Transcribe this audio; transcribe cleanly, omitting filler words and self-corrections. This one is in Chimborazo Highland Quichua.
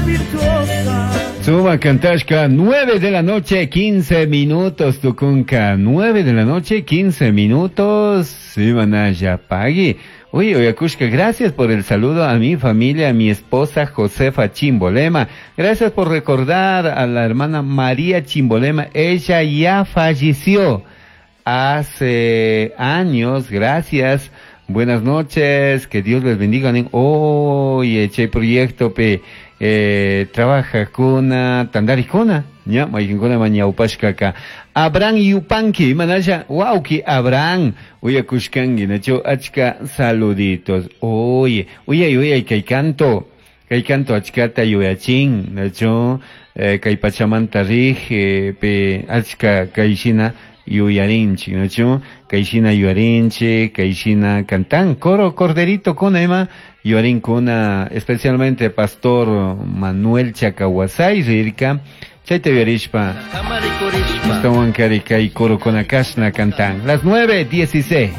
Virtuosa. Suma Kantashka, 9 de la noche, 15 minutos, Tucunca, 9 de la noche, 15 minutos, Simanaya Pagui. Oye, Oyakushka, gracias por el saludo a mi familia, a mi esposa Josefa Chimbolema. Gracias por recordar a la hermana María Chimbolema. Ella ya falleció hace años. Gracias. Buenas noches, que Dios les bendiga. Oye, che proyecto pe eh, trabaja kuna tandarikuna, ña mayqinkuna mañawpashkaka. Abraham Yupanqui, imanasha wawqi Abraham, uyakushkanki, nachu achka saluditos. Oye, uyay uyay kay canto, kay canto achkata yuyachin, nachu eh, kay pachamanta rij, eh, pe achka kay shina yuyarinchik, nachu kay shina yuyarinchik, kay shina cantan, coro corderito kuna ima, yuyarinkuna, especialmente pastor Manuel Chacahuasay rirka, chayta yuyarishpa, Kamarikurishpa. ashtawankari kay coro kuna kashna cantan. Las 9:16.